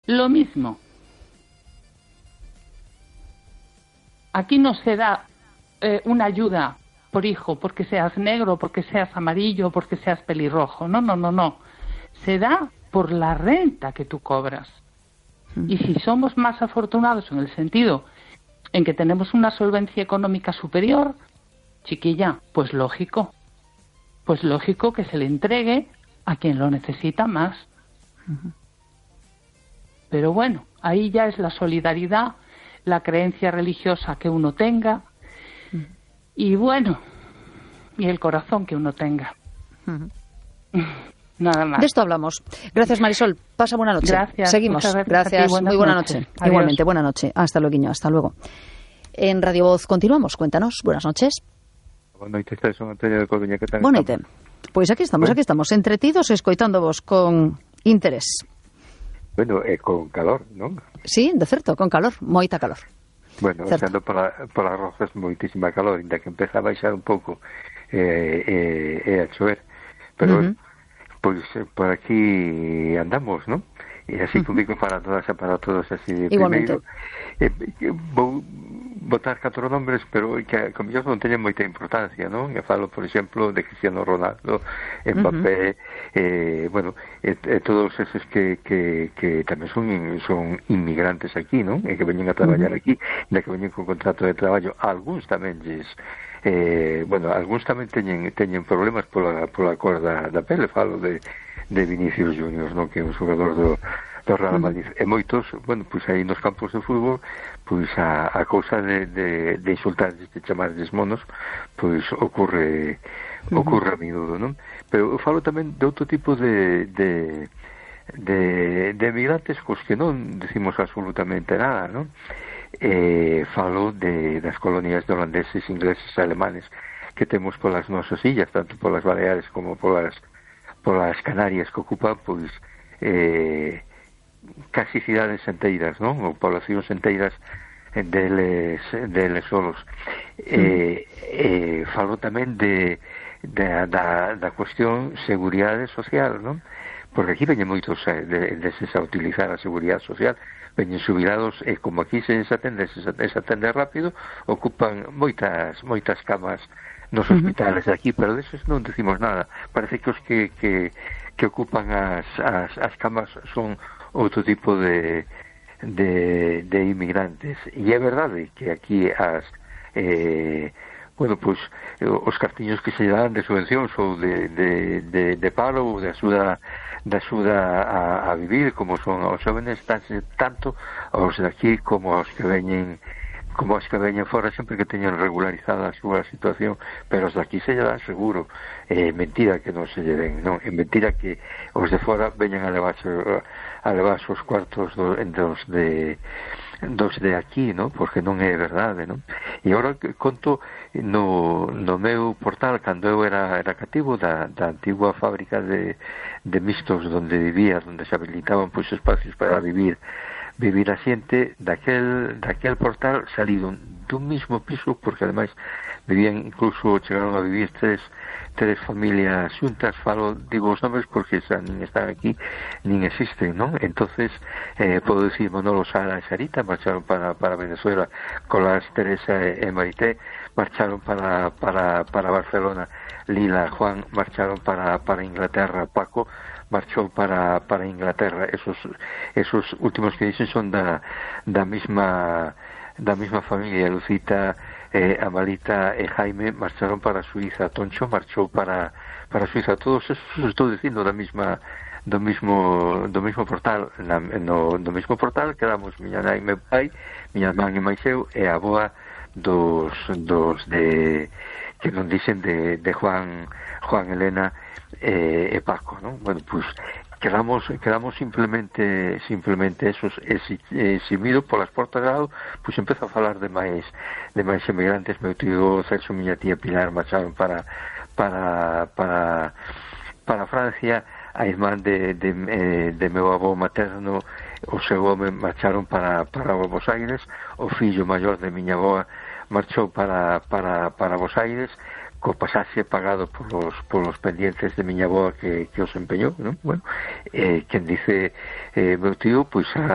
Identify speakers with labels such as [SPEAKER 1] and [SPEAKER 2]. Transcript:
[SPEAKER 1] Lo mismo. Aquí no se da una ayuda por hijo porque seas negro, porque seas amarillo, porque seas pelirrojo. No, no, no, no. Se da por la renta que tú cobras. Y si somos más afortunados en el sentido en que tenemos una solvencia económica superior, chiquilla, pues lógico que se le entregue a quien lo necesita más. Pero bueno, ahí ya es la solidaridad, la creencia religiosa que uno tenga y bueno, y el corazón que uno tenga. Nada más.
[SPEAKER 2] De esto hablamos. Gracias, Marisol. Pasa buena noche.
[SPEAKER 1] Gracias.
[SPEAKER 2] Seguimos. Gracias. Muy buena noche. Igualmente, buena noche. Hasta luego. Hasta luego. En Radio Voz continuamos. Cuéntanos. Buenas noches.
[SPEAKER 3] Buenas noches, son Antonio de Coruña. ¿Qué tal?
[SPEAKER 2] Buenas noches. Pues aquí estamos, entretidos, escoitándovos con interés.
[SPEAKER 3] Bueno, con calor, non?
[SPEAKER 2] Sí, de certo, con calor, moita calor.
[SPEAKER 3] Bueno, xando polas rozas moitísima calor, inda que empeza a baixar un pouco a chover, pero pois por aquí andamos, non? E así comigo para todas e para todos así.
[SPEAKER 2] Igualmente.
[SPEAKER 3] Primeiro, vou botar 4 nombres, pero que como yo non teñen moita importancia, non? E falo, por exemplo, de Cristiano Ronaldo, Mbappé, bueno, todos esos que tamén son inmigrantes aquí, non? E que veñen a traballar aquí, e que veñen con contrato de traballo. Algúns tamén bueno, algúns tamén teñen problemas pola cor da pele. Falo de Vinicius Junior, non? Que é un xogador do Real Madrid. E moitos, bueno, pois aí nos campos de fútbol, pois a cousa de insultarles, de chamarles monos, pois ocorre a miúdo, non? Pero eu falo tamén de outro tipo de emigrantes cos que non decimos absolutamente nada, non? Falo das colonias de holandeses, ingleses e alemanes que temos polas nosas illas, tanto polas Baleares como polas Canarias, que ocupan, pois, casi cidades enteiras, non? Ou poblacións enteiras deles solos. Falo tamén da cuestión seguridade social, non? Porque aquí veñen moitos deses a utilizar a seguridade social, veñen xubilados e como aquí se atende rápido, ocupan moitas camas nos hospitales aquí, pero deses non decimos nada. Parece que os que ocupan as camas son outro tipo de inmigrantes. E é verdade que aquí bueno, pois os cartiños que se dan de subvencións ou de paro ou de axuda a vivir, como son os jóvenes, tanto os de aquí como os que veñen fora, sempre que teñan regularizada a súa situación, pero os de aquí se lle dan seguro. Mentira que non se lle den, non? É mentira que os de fora veñan a levarse os cuartos dos de aquí, non? Porque non é verdade, non? E agora conto no meu portal, cando eu era cativo da antigua fábrica de mixtos onde vivía, onde se habilitaban pois espacios para vivir a xente, daquel portal salido dun mismo piso, porque ademais vivían, incluso chegaron a vivir tres familias xuntas. Digo os nomes porque xa nin están aquí nin existen, non? Entonces podo dicir Manolo, Sara e Sarita marcharon para Venezuela, Colás, Teresa e Marité marcharon para Barcelona, Lila, Juan marcharon para Inglaterra, Paco marchou para Inglaterra. Esos últimos que dicen son da mesma familia. Lucita, Amalita e Jaime marcharon para Suiza, Toncho marchou para Suiza. Todos esos estou dicindo do mesmo portal. No mesmo portal quedamos miña nai e meu pai, miña man e máis eu, e a aboa dos de que non dicen de Juan, Elena e Paco, non? Bueno, pois quedamos simplemente esos, eximido polas portas de lado, pois empezo a falar de máis emigrantes. Meu tío Celso, miña tía Pilar marcharon para Francia, a irmán de meu avó materno, o seu home marcharon para Buenos Aires, o fillo maior de miña avoa marchou para Buenos Aires, co pasaxe pagado polos pendientes de miña avoa que os empeñou, non? Bueno, quen dice meu tío, pois